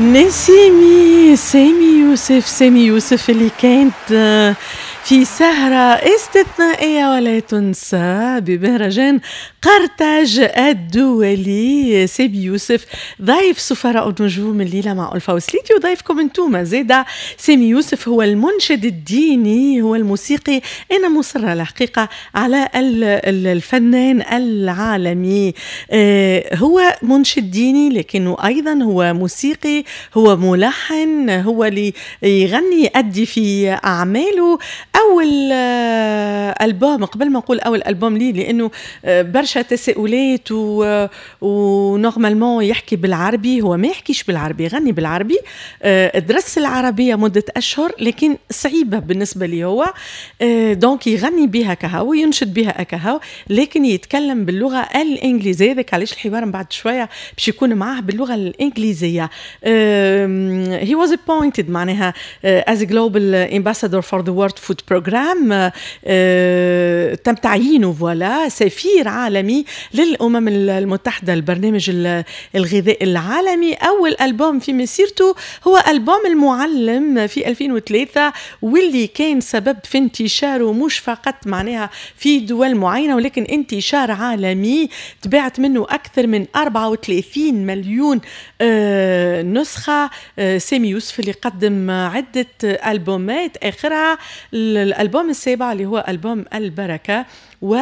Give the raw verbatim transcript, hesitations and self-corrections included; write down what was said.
نسيمي سامي يوسف، سامي يوسف اللي كانت آه، في سهرة استثنائية ولا تنسى بمهرجان قرطاج الدولي. سامي يوسف ضيف سفراء النجوم الليلة مع ألفا وسليتي وضيفكم انتوما زيدا. سامي يوسف هو المنشد الديني، هو الموسيقي. أنا مصرة الحقيقة على الفنان العالمي. آه، هو منشد ديني لكنه أيضا هو موسيقي، هو ملحن، هو اللي يغني، يأدي في أعماله. أول آه، ألبوم، قبل ما نقول أول ألبوم لي، لأنه آه، برشا تساؤلات و normalement يحكي بالعربي، هو ما يحكيش بالعربي، يغني بالعربي. آه، درس العربية مدة أشهر لكن صعيبة بالنسبة لي هو، donc يغني بها كهو وينشد بها كهو، لكن يتكلم باللغة الإنجليزية. ذاك علاش الحوار من بعد شوية باش يكون معاه باللغة الإنجليزية. he was appointed معناها as a global ambassador for the World Food Program، تم تعيينه voilà سفير عالمي للأمم المتحدة، البرنامج الغذائي العالمي. أول ألبوم في مسيرته هو ألبوم المعلم في ألفين وثلاثة، واللي كان سبب في انتشاره مش فقط معناها في دول معينة ولكن انتشار عالمي. تباعت منه أكثر من أربعة وثلاثين مليون آه، نسخة. آه، سامي يوسف اللي قدم عدة ألبومات، آخرها الألبوم السابع اللي هو ألبوم البركة و